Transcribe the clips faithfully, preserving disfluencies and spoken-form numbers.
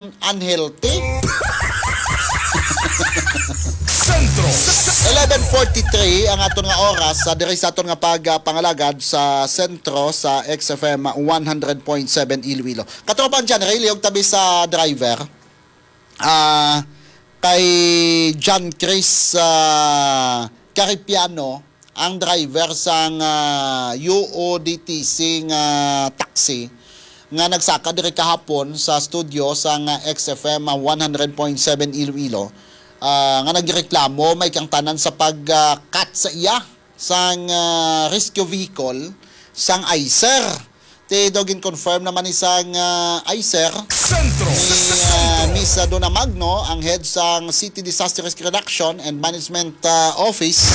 unhealthy. Sentro. Eleven forty-three ang aton nga oras, ah, diri sa aton nga pag, ah, pangalagad sa sentro sa X F M one hundred point seven Iloilo. Katropang John Ray, lihog tabi sa driver. Ah, kay John Chris, ah, Caripiano, ang driver sang, ah, U O D T C nga taxi nga nagsaka diri kahapon sa studio sang, ah, X F M, ah, one hundred point seven Iloilo, ah, nga nagreklamo may kangtanan sa pag, ah, cut sa iya sang, ah, rescue vehicle sang ICER. Ti daw gin-confirm naman ni sang, ah, ICER Sentro. ni, ah, Miss Dona Magno, ang head sang City Disaster Risk Reduction and Management, ah, Office,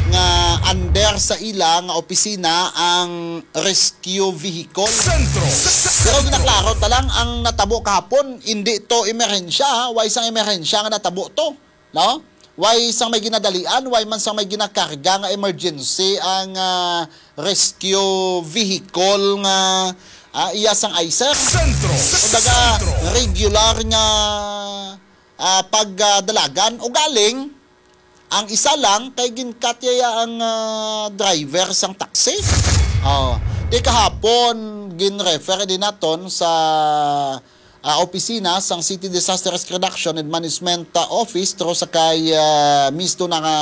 nga under sa ila nga opisina ang rescue vehicle. Sentro. Pero ginaklaro ta lang, ang natabo kahapon, hindi to emerhensya, ha? Way sang emerhensya nga natabo to, no? Way sang may ginadalian, way man sang may ginakarga nga emergency ang, ah, rescue vehicle nga, ah, iya sang ICER. Sentro. Kumbaga, Sentro. regular nga, ah, pagdalagan. Ugaling, ang isa lang kay ginkat iya ang, ah, driver sang taxi. Oh, di kahapon gin-refer din naton sa, ah, opisina sang City Disaster Risk Reduction and Management, ah, Office, through sa kay, ah, Miss Dona nga,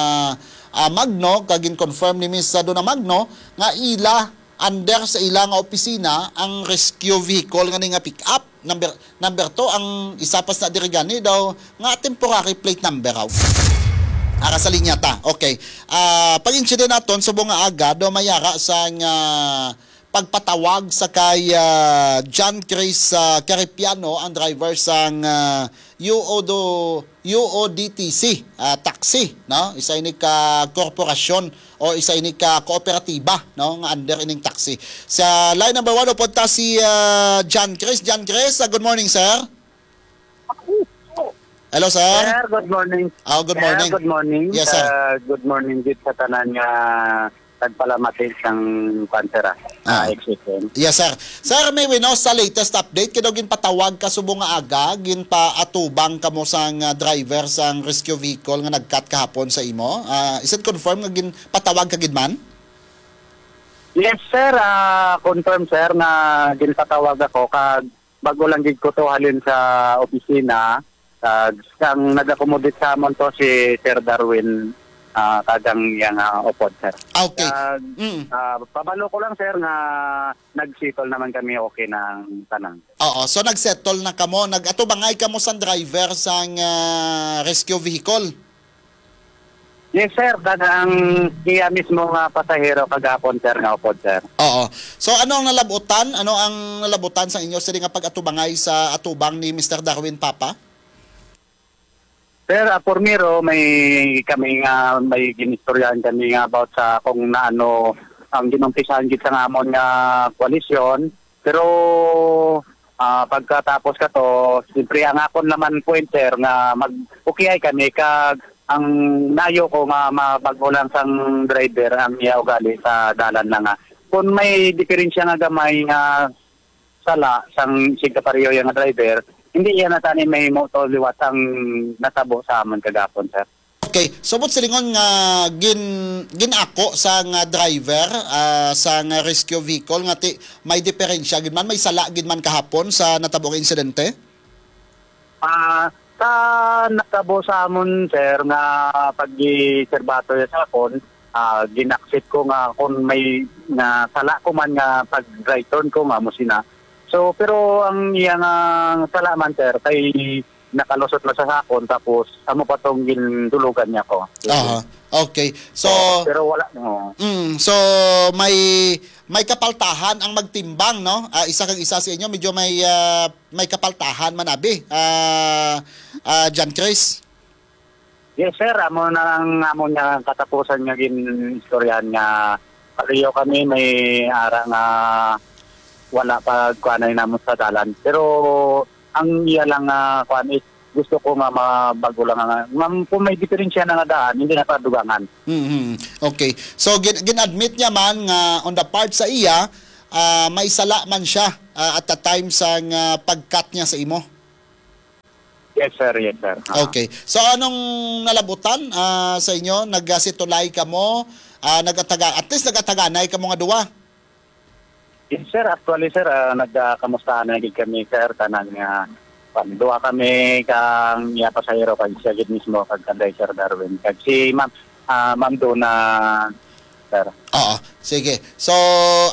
ah, Magno, kag gin-confirm ni Miss, ah, Dona Magno nga ila under sa ila nga opisina ang rescue vehicle nga ni nga pick-up. Number, number two, ang isa pa sa diri gani daw nga temporary plate number raw. Ara sa linya ta. Okay. Ah, pag-incident naton subong nga aga daw may ara sang, ah, pagpatawag sa kay, ah, John Chris, ah, Caripiano, ang driver sang, ah, U O do, U O D T C, ah, taxi, no? Isa ini ka korporasyon o isa ini ka kooperatiba, no, nga under ining taxi. Sa line number one, upod ta si, ah, John Chris. John Chris, ah, good morning, sir. Hello, sir. Sir, good morning. Oh, good Sir, morning. good morning. Yes, sir. Ah, good morning gid sa tanan nga nagpalamati sang kwan, sir, ah, Ah. ah, X F M. Yes, sir. Sir, may winos sa latest update, kay daw ginpatawag ka subong nga aga, ginpaatubang kamo sang, ah, driver sang rescue vehicle nga nag-cut kahapon sa imo. Ah, is it confirmed nga ginpatawag ka gid man? Yes, sir. Ah, confirm, sir, nga ginpatawag ako kag bago lang gid ko to halin sa opisina. Kag ang nag-accommodate sa amon to si Sir Darwin, ah, kag ang iyang, ah, upod, sir. Ah, okay. Kag, Mm. ah, pabalo ko lang, sir, nga nag-settle naman kami, okay na ang tanan. Oo, so nag-settle na kamo. Nag-atubangay kamo sang driver sang, ah, rescue vehicle? Yes, sir. Kag ang iya mismo nga pasahero kagapon, sir, nga upod, sir. Oo. So, ano ang nalabutan? Ano ang nalabutan sa inyo sini nga pag-atubangay sa atubang ni Mister Darwin Papa? Sir, ah, primero, may kami nga, may ginistoryahan kami nga about sa kung naano ang ginumpisahan gid sa amon nga koalisyon. Pero, ah, pagkatapos ka to, siyempre, ang akon naman point, sir, nga mag-, okay ay kami, kag ang nayo ko nga mabag-o lang sang driver ang iya ugali sa dalan na nga. Kung may diferensya nga gamay nga sala sang sig kapareho iya nga driver, hindi iya na tani mahimo to liwat ang natabo sa amon kagapon, sir. Okay, so buot silingon nga gin-, gin-ako sang driver, ah, sang rescue vehicle nga ti-, may diferensya gid man, may sala gid man kahapon sa natabo nga insidente? Ah, sa natabo sa amon, sir, nga pag-iserbato niya sa akon, ah, gin-accept ko nga kung may nga sala ko man nga pag-right turn ko nga mo sina. So, pero ang iya nga sala man, sir, kay nakalusot na sa sakon, tapos amo pa tong gindulugan niya ko. Aha. Okay. So, So, pero wala, no. Mm, so may, may kapaltahan ang magtimbang, no? Ah, isa kag isa sa inyo, medyo may, ah, may kapaltahan man abi, ah, ah, John Chris. Yes, sir. Amo na lang amo niya katapusan nga gin-istoryahan nga pareho kami may ara nga wala pa kuanay namo sa dalan. Pero ang iya lang nga kuan is gusto ko nga mabago lang nga, nga kung may diferensya na nga daan, hindi na pa dugangan. Mhm. Okay. So, gin-, gin-admit niya man nga on the part sa iya, ah, may sala man siya, ah, at the time sa nga pag-cut niya sa imo. Yes, sir. Yes, sir. Ah. Okay. So, anong nalabutan, ah, sa inyo? Nagasitulay kamo? Ah, nagataga-, at least nagataganay kamo nga duwa? Yes, sir. Actually, sir, ah, nagkamustahan na gid kami, sir. Kanang, ah, kwan, duha kami kang iya pasahero kag siya gid mismo kag kanday Sir Darwin. Kag si Ma'am, ah, Ma'am Dona, sir. Oo, sige. So,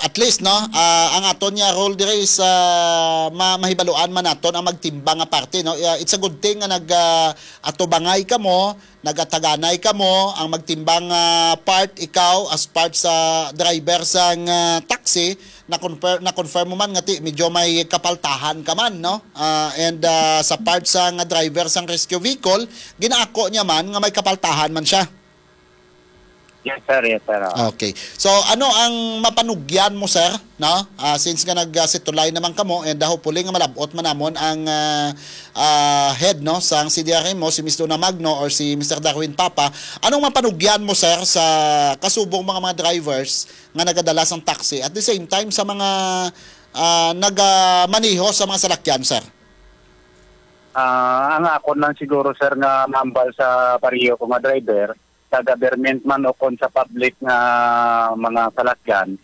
at least, no, ah, ang aton nga role diri is, ah, ma-, mahibaluan man naton ang magtimbang nga parte, no? Ah, it's a good thing nga nag, ah, atubangay kamo, nagataganay kamo, ang magtimbang, ah, part, ikaw as part sa driver sang, ah, taxi, na-confirm, na-confirm mo man nga ti, medyo may kapaltahan ka man, no? Ah, and, ah, sa part sang driver sang rescue vehicle, ginaako niya man nga may kapaltahan man siya. Yes, sir. Yes, sir. Oo. Okay. So, ano ang mapanugyan mo, sir? No? Ah, since nga nag, ah, situlay naman kamo, and, ah, hopefully nga malabot man namon ang, ah, ah, head, no, sang C D R M mo, si Miss Luna Magno or si Mister Darwin Papa. Anong mapanugyan mo, sir, sa kasubong mga, mga drivers nga nagadala sang taxi? At the same time, sa mga, ah, nagamaneho sa mga salakyan, sir? Ah, ang akon lang siguro, sir, nga mambal sa pareho ko nga driver, sa government man o kon sa public nga mga salakyan,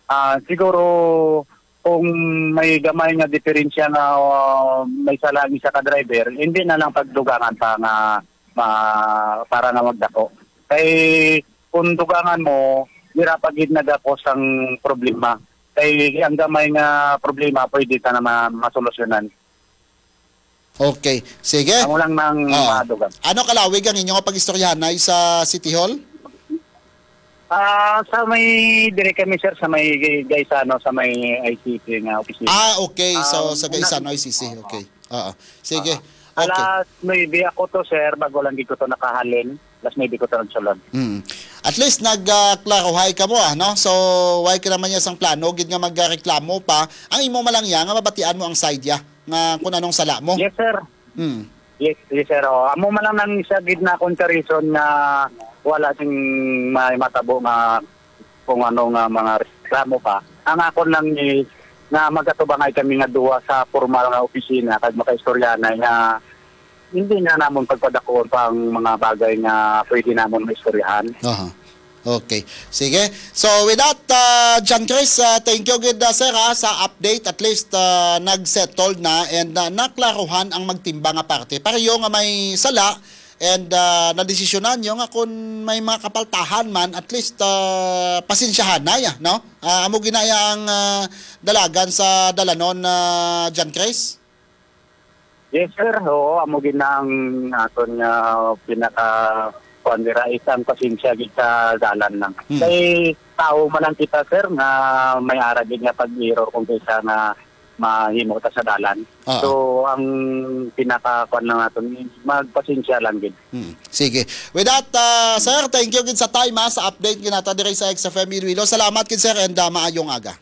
ah, siguro kung may gamay nga diferensya nga, ah, may sala ang isa ka driver, hindi na lang pagdugangan pa nga ma-, para nga magdako. Kay kung dugangan mo, dira pa gid nagakos ang problema. Kay ang gamay nga problema pwede ta na ma-, masolusyonan. Okay. Sige. Amo lang nang Ah. madugang. Ano kalawig ang inyo nga pag-istoryahanay sa City Hall? Ah, sa may, dire kami, sir, sa may Gaisano, sa may I C C nga opisina. Ah, okay. So, Ah, sa una Gaisano, I C C. Oo. Okay. Oo. Sige. Ah, Okay. alas nuebe ako to, sir, bago lang di ko to nakahalin. Alas nuebe ko to nagsulod. Mm. At least nag, ah, klaruhay ka mo, ah, no? So, why ka naman niya sang plano gid nga magreklamo pa? Ang imo man lang iya nga mabatian mo ang side ya nga kung anong sala mo. Yes, sir. Mm. Yes, yes, sir. Oh, amo man lang nang isa gid na akong ka-reason nga wala sing may matabo nga kung ano nga mga reklamo pa. Ang akon lang is nga magatubangay kami nga duha sa formal nga opisina kag makaistoryanay nga hindi na namon pagpadakuon pa ang mga bagay nga pwede namon maistoryahan. Aha. Okay. Sige. So, with that, ah, John Chris, ah, thank you gid, ah, sir, ah, sa update. At least, ah, nag-settled na and, ah, naklaruhan ang magtimbang nga parte. Pareho nga may sala and, ah, nadesisyonan nyo nga kung may mga kapaltahan man, at least, ah, pasensyahan na ya, no? Ah, amo ginaya ang, ah, dalagan sa dalanon, ah, John Chris? Yes, sir. Oo, amo gid na ang aton nga pinaka, kuwan dira, isang pasensya gid sa dalan lang. Hmm. Kay tao man lang kita, sir, nga may ara gid nga pag-error kung kaysa nga mahimo ta sa dalan. Ah. So, ang pinaka, kuwan lang naton, magpasensya lang gid. Hmm. Sige. With that, ah, sir, thank you gid sa time, ha, sa update ginata diri sa X F M Iloilo. Salamat gid, sir, and, ah, maayong aga.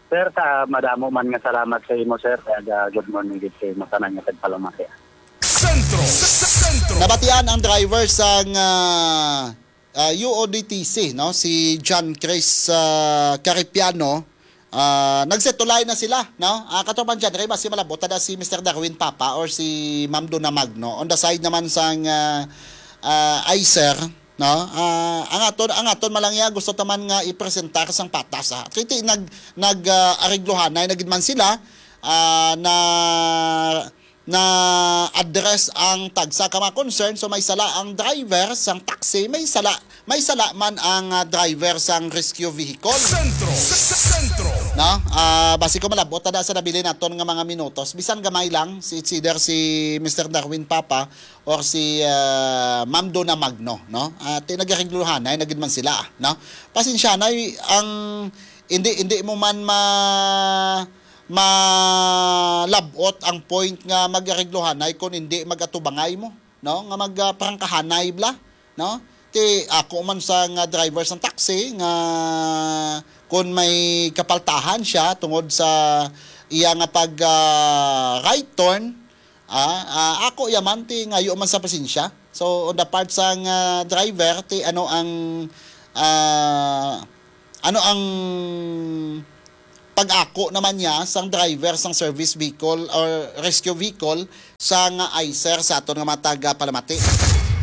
Sir, sa madamo man nga salamat sa imo, sir. Kag, ah, good morning gid sa imo tanan nga tagpalamati. Sentro, Sentro. Nabatian ang driver sang, ah, ah, U O D T C, no? Si John Chris, ah, Caripiano. Ah, nagsetulay na sila, no? Ah, kato man dyan, kay basi malabot na si Mister Darwin Papa or si Ma'am Dona Magno. On the side naman sang, ah, ah, ICER, no? Ah, ang aton, ang aton man lang iya gusto ta man nga ipresentar sang patas, ah. Kay ti nag, nag, ah, ariglohanay na gid man sila, ah, na, na address ang tagsa ka mga concern. So, may sala ang driver sang taxi, may sala, may sala man ang, ah, driver sang rescue vehicle. Sentro, Sentro. No? Ah, basi ko malabot na sa nabilin naton nga mga minutos. Bisan gamay lang, si, it's either si Mister Darwin Papa or si, ah, Ma'am Dona Magno, no? Ah, ti nagaregluhanay na gid man sila, no? Pasensya na, ang hindi, hindi mo man ma-, malabot ang point nga magaregluhanay kung hindi magatubangay mo, no? Nga magprangkahanay bala, no? Ti ako man sa nga driver sang taxi nga kung may kapaltahan siya tungod sa iya nga pag, ah, right turn, Ah, ah, ako yaman ti ngayo man sa pasensya. So, on the part sang, ah, driver, ti ano ang, ah, ano ang pag-ako naman niya sang driver sang service vehicle or rescue vehicle sa nga ICER sa aton nga mga taga-palamati.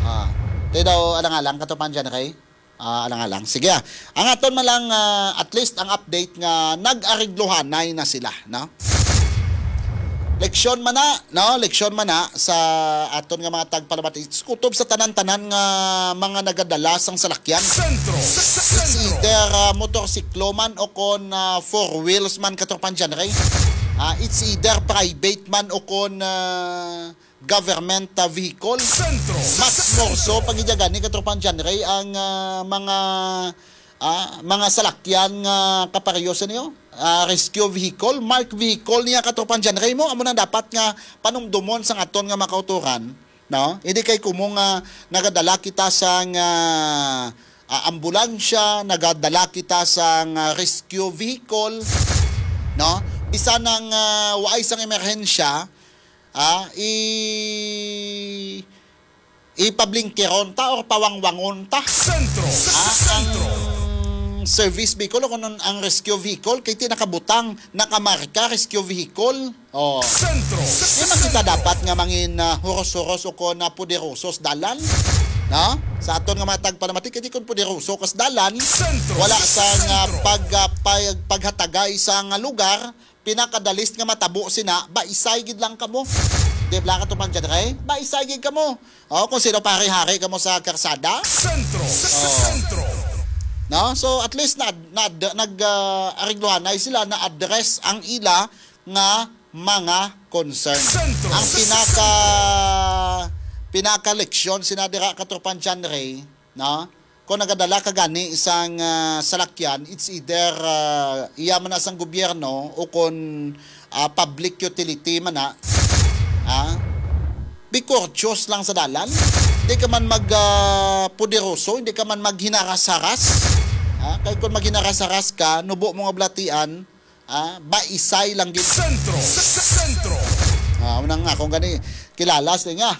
Ah, tayo daw alang-alang, Katropang John Ray. Ah, alang-alang. Sige, ah. Ang aton man lang, ah, at least ang update nga nag-arigluhanay na sila, no? Leksyon man na, no? Leksyon man na sa aton nga mga tagpalamati. Kutob sa tanan-tanan nga mga nagadala sang salakyan. Sentro. It's either, ah, motorsiklo man o kon, ah, four wheels man, Katropang John Ray. Ah, it's either private man o kon, ah, government, ah, vehicle. Sentro. Mas morso pa gid gani, Katropang John Ray, ang, ah, mga, ah, mga salakyan nga kapareho sa niyo. Ah, rescue vehicle, marked vehicle niya, Katropang John Ray, mo. Amo na dapat nga panumdumon sang aton nga mga kautoran, no? Hindi kay kumong, ah, nagadala kita sang, ah, ah, ambulansya, nagadala kita sang, ah, rescue vehicle, no? Bisan ang, ah, waay sang emerhensya, ah, i-, ipablingkeron ta or pawangwangon ta. Sentro. Ah, ang service vehicle o kung ang rescue vehicle, kay ti nakabutang, nakamarka, rescue vehicle. Oh. Sentro. Di man kita dapat nga mangin, ah, huros-huros o kon, ah, poderoso sa dalan, no? Sa aton nga mga tagpalamati, kay di kon poderoso ka sa dalan, wala sa nga pag, ah, pag-, paghatagay sa nga lugar, pinakadalis nga matabo sina, baisay gid lang kamo. Di ba, Katropang John Ray? Baisay gid kamo. Oh, kung sino pare-hari kamo sa karsada. Sentro. Sentro. No? So, at least na, na, nag, ah, arigluhanay sila, na-address ang ila nga mga concern. Sentro. Ang pinaka, pinaka leksyon sina dira, Katropang John Ray, no? Kung nagadala ka gani sang, ah, salakyan, it's either, ah, iya man na sang gobyerno o kung, ah, public utility man na, ah, be courteous lang sa dalan. Hindi ka man mag, ah, poderoso, hindi ka man maghinaras-haras. Ah, kay kung maghinaras-haras ka, nubo mo nga balatian, ah, baisay lang gid. Sentro. Sentro. Ah, unang nga, kung gani, kilala sila nga.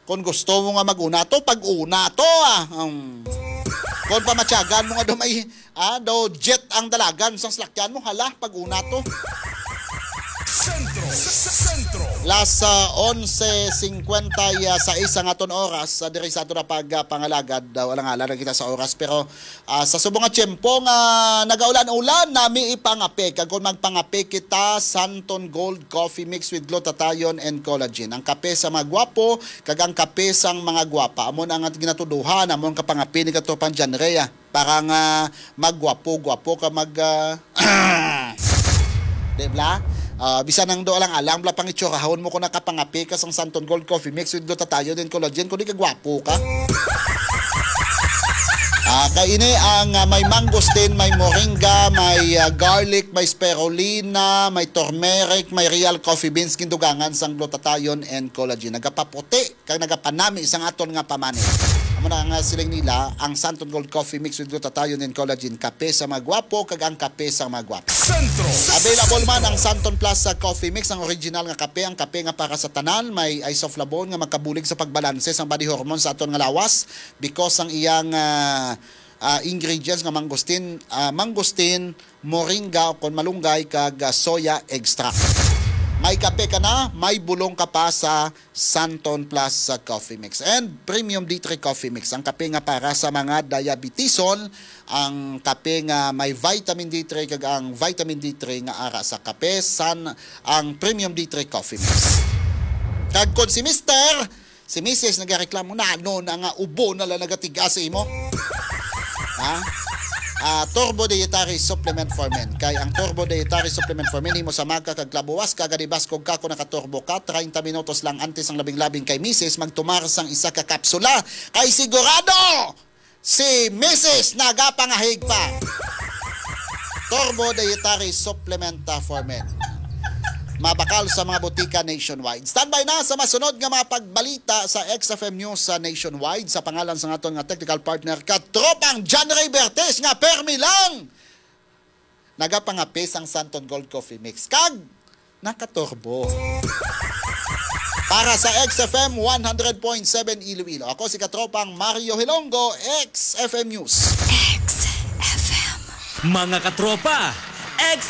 Kung gusto mo nga mag-una to, pag-una to, ah. Um, kung pamatyagan mo nga daw may, ah, daw jet ang dalagan sang salakyan mo, hala, pag-una to. Sentro. Sentro. Las, ah, onse cincuenta y seis ang aton oras, ah, diri sa aton na pag, ah, pangalagad. Daw, alang-alang na kita sa oras, pero, ah, sa subong nga tiyempo nga nagaulan-ulan, nami ipangape. Kag kung magpangape kita, Santon Gold Coffee Mix with Glutathione and Collagen. Ang kape sa mga gwapo, kag ang kape sang mga gwapa. Amo na ang ginatuduhan, amo ang kapangapi ni Katropang John Ray, ah. Para nga magwapo-gwapo ka mag, ah, di bla? Ah, bisan ang do alang-alang bla pangitsurahon mo kung nakapangapi ka sang Santon Gold Coffee Mix with Glutathione and Collagen, kung di ka gwapo ka. Ah, kay ini ang, ah, may mangosteen, may moringa, may, ah, garlic, may spirulina, may turmeric, may real coffee beans, gindugangan sang glutathione and collagen. Nagapaputi kag nagapanami sang aton nga pamani. Amo na nga siling nila, ang Santon Gold Coffee Mix with Glutathione and Collagen, kape sa mga gwapo kag ang kape sa mga gwapo. Sentro. Available man ang Santon Plus sa Coffee Mix, ang original nga kape, ang kape nga para sa tanan, may isoflavone nga magkabulig sa pagbalanse sang body hormone sa aton nga lawas because ang iyang, ah, ah, ingredients nga mangosteen, ah, mangosteen, moringa, o kon malunggay, kag, ah, soya extract. May kape ka na, may bulong ka pa sa Santon Plus, ah, Coffee Mix and Premium D three Coffee Mix, ang kape nga para sa mga diabetison, ang kape nga may vitamin D three kag ang vitamin D three nga ara sa kape, san ang Premium D three Coffee Mix. Kag kon si Mister Si misis nagareklamo na, ano na nga ubo na lang nagatigas sa imo? Ha? Ah, Turbo Dietary Supplement for Men. Kay ang Turbo Dietary Supplement for Men, himo sa maga kag labuwas ka, gani baskog ka kung nakaturbo ka, treinta minutos lang antes ang labing-labing kay misis magtumar sang isa ka kapsula. Kay sigurado, si misis nagapangahig pa. Turbo Dietary Supplement, ah, for Men. Mabakal sa mga botika nationwide. Standby na sa masunod nga mga pagbalita sa X F M News sa nationwide sa pangalan sa aton nga technical partner, Katropang John Ray Bertes, nga permi lang nagapangapis ang Santon Gold Coffee Mix. Kag nakaturbo. Para sa X F M one hundred point seven Iloilo, ako si Katropang Mario Hilonggo, X F M News. X F M. Mga katropa,